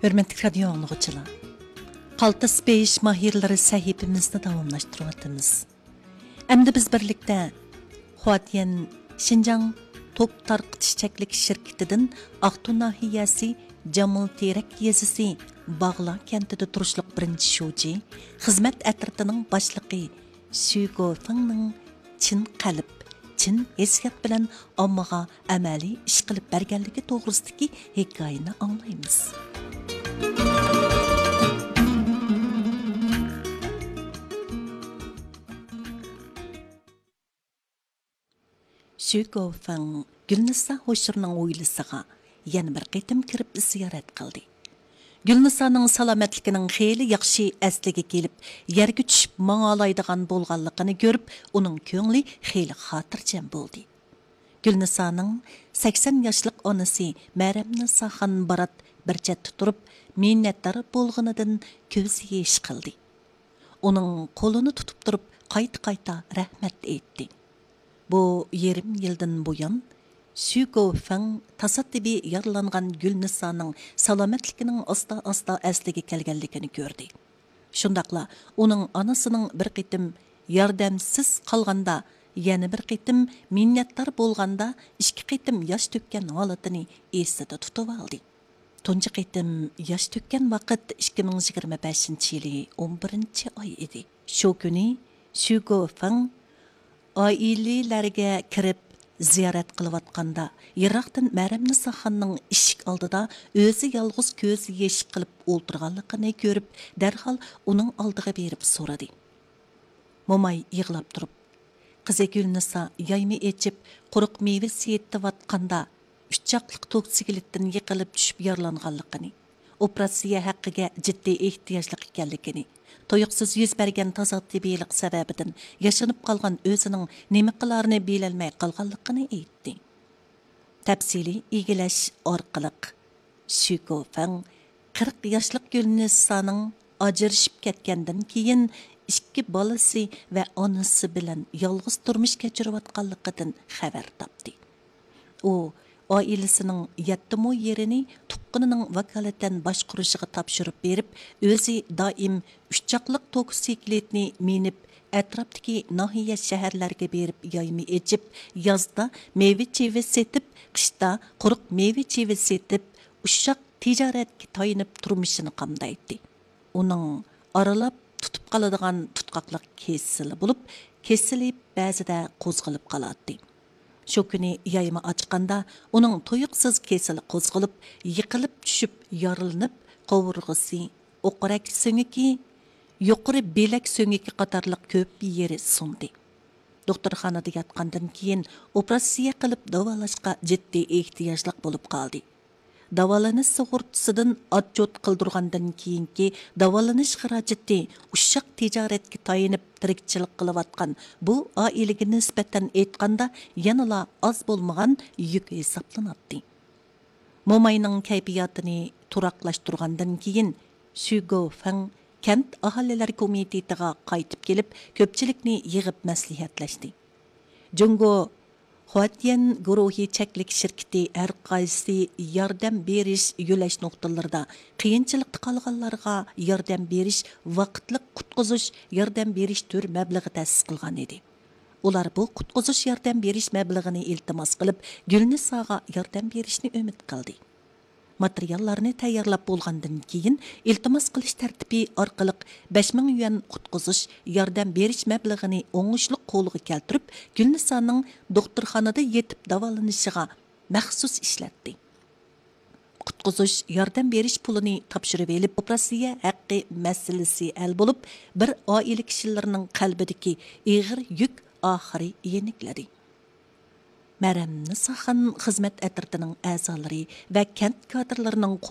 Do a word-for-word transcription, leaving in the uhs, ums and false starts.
ھۆرمەتلىك رادىيو ئاڭلىغۇچىلار، قالتىس بېيىش ماھىرلىرى سەھىپىمىزنى داۋاملاشتۇرۇۋاتىمىز. ئەمدى بىز بىرلىكتە خۇاتيەن شىنجاڭ توك تارقىتىش چەكلىك شىركىتىدىن ئاقتۇ ناھىيەسى جامىلتېرەك يېزىسى باغلا كەنتىدە تۇرۇشلۇق بىرىنچى شۇجى، خىزمەت ئەترىتىنىڭ باشلىقى شۈ گوفېڭنىڭ چىن قەلب، چىن ھېسسىيات بىلەن ئاممىغا ئەمەلىي ئىش قىلىپ بەرگەنلىكى توغرىسىدىكى ھېكايىنى ئاڭلايمىز. شۈ گوفېڭ گۈلنىسا ھوشۇرنىڭ ھويلىسىغا يەنە بىر قېتىم كىرىپ زىيارەت قىلدى. گۈلنىسانىڭ سالامەتلىكىنىڭ خېلى ياخشى ئەسلىگە كېلىپ، يەرگە چۈشۈپ ماڭالايدىغان بولغانلىقىنى كۆرۈپ، ئۇنىڭ كۆڭلى خېلى خاتىرجەم بولدى. گۈلنىسانىڭ سەكسەن ياشلىق ئانىسى مەرەمنىساخان بارات بىر چەتتە تۇرۇپ، مىننەتدار بولغىنىدىن كۆز يېشى قىلدى. ئۇنىڭ قولىنى تۇتۇپ تۇرۇپ، قايتا-قايتا رەھمەت ئېيتتى. بۇ يېرىم يىلدىن بۇيان، شۈ گوفېڭ تاسادىپىي يارىلانغان گۈلنىسانىڭ سالامەتلىكىنىڭ ئاستا-ئاستا ئەسلىگە كەلگەنلىكىنى كۆردى. شۇنداقلا ئۇنىڭ ئانىسىنىڭ بىر قېتىم ياردەمسىز قالغاندا، يەنە بىر قېتىم مىننەتدار بولغاندا، ئىككى قېتىم ياش تۆككەن ھالىتىنى ئېسىدە تۇتۇۋالدى. تۇنجى قېتىم ياش تۆككەن ۋاقىت ئىككى مىڭ يىگىرمە بەشىنچى يىلى ئون بىرىنچى ئاي ئىدى. شۇ كۈنى شۈ گوفېڭ ئائىلىلەرگە كىرىپ زىيارەت قىلىۋاتقاندا، يىراقتىن مەرەمنىساخاننىڭ ئىشىك ئالدىدا ئۆزى يالغۇز كۆز يېشى قىلىپ ئولتۇرغانلىقىنى كۆرۈپ، دەرھال ئۇنىڭ ئالدىغا بېرىپ سورىدى. موماي يىغلاپ تۇرۇپ، قىزى گۈلنىسا يايما ئېچىپ، قۇرۇق مېۋە سېتىۋاتقاندا، ئۈچ چاقلىق توكسىكلىتتىن يىقىلىپ چۈشۈپ يارىلانغانلىقىنى، ئوپېراتسىيە ھەققىگە جىددىي ئېھتىياجلىق ئىكەنلىكىنى، تۇيۇقسىز يۈز بەرگەن تاسادىپىيلىق سەۋەبىدىن ياشىنىپ قالغان ئۆزىنىڭ نېمە قىلارىنى بىلەلمەي قالغانلىقىنى ئېيتتى. تەپسىلىي ئىگىلەش ئارقىلىق، شۈ گوفېڭ قىرىق ياشلىق گۈلنىسانىڭ ئاجرىشىپ كەتكەندىن كېيىن، ئىككى بالىسى ۋە ئانىسى بىلەن يالغۇز تۇرمۇش كەچۈرۈۋاتقانلىقىدىن خەۋەر تاپتى. ئۇ ئائىلىسىنىڭ يەتتە مو يېرىنى تۇغقىنىنىڭ ۋاكالىتەن باشقۇرۇشىغا تاپشۇرۇپ بېرىپ، ئۆزى دائىم ئۈچ چاقلىق توكسىكلىتنى مىنىپ، ئەتراپتىكى ناھىيە، شەھەرلەرگە بېرىپ يايما ئېچىپ، يازدا مېۋە-چېۋە سېتىپ، قىشتا قۇرۇق مېۋە-چېۋە سېتىپ، ئۇششاق تىجارەتكە تايىنىپ تۇرمۇشىنى قامدايتتى. ئۇنىڭ ئارىلاپ تۇتۇپ قالىدىغان تۇتقاقلىق كېسىلى بولۇپ، كېسىلى بەزىدە قوزغىلىپ قالاتتى. شۇ كۈنى يايما ئاچقاندا، ئۇنىڭ تۇيۇقسىز كېسىلى قوزغىلىپ، يىقىلىپ چۈشۈپ يارىلىنىپ، قوۋۇرغىسى، ئوقرەك سۆڭىكى، يۇقىرى بىلەك سۆڭىكى قاتارلىق كۆپ يېرى سۇندى. دوختۇرخانىدا ياتقاندىن كېيىن، ئوپېراتسىيە قىلىپ داۋالاشقا جىددىي ئېھتىياجلىق بولۇپ قالدى. داۋالىنىش سۇغۇرتىسىدىن ئاتچوت قىلدۇرغاندىن كېيىنكى داۋالىنىش خىراجىتى ئۇششاق تىجارەتكە تايىنىپ تىرىكچىلىك قىلىۋاتقان بۇ ئائىلىگە نىسبەتەن ئېيتقاندا، يەنىلا ئاز بولمىغان يۈك ھېسابلىناتتى. موماينىڭ كەيپىياتىنى تۇراقلاشتۇرغاندىن كېيىن، شۈ گوفېڭ كەنت ئاھالىلەر كومىتېتىغا قايتىپ كېلىپ، كۆپچىلىكنى يىغىپ مەسلىھەتلەشتى. جۇڭگو خۇاتيەن گۇرۇھى چەكلىك شىركىتى ھەر قايسى ياردەم بېرىش يۆلەش نۇقتىلىرىدا قىيىنچىلىقتا قالغانلارغا ياردەم بېرىش، ۋاقىتلىق قۇتقۇزۇش ياردەم بېرىش تۈر مەبلىغى تەسىس قىلغان ئىدى. ئۇلار بۇ قۇتقۇزۇش ياردەم بېرىش مەبلىغىنى ئىلتىماس قىلىپ، گۈلنىساغا ياردەم بېرىشنى ئۈمىد قىلدى. ماتېرىياللارنى تەييارلاپ بولغاندىن كېيىن، ئىلتىماس قىلىش تەرتىپى ئارقىلىق بەش مىڭ يۈەن قۇتقۇزۇش ياردەم بېرىش مەبلىغىنى ئوڭۇشلۇق قولغا كەلتۈرۈپ، گۈلنىسانىڭ دوختۇرخانىدا يېتىپ داۋالىنىشىغا مەخسۇس ئىشلەتتى. قۇتقۇزۇش ياردەم بېرىش پۇلىنى تاپشۇرۇۋېلىپ، ئوپېراتسىيە ھەققى مەسىلىسى ھەل بولۇپ، بىر ئائىلە كىشىلىرىنىڭ قەلبىدىكى ئېغىر يۈك ئاخىرى يېنىكلىدى. مەرەمنىساخان خىزمەت ئەترىتىنىڭ ئەزالىرى ۋە كەنت كادىرلىرىنىڭ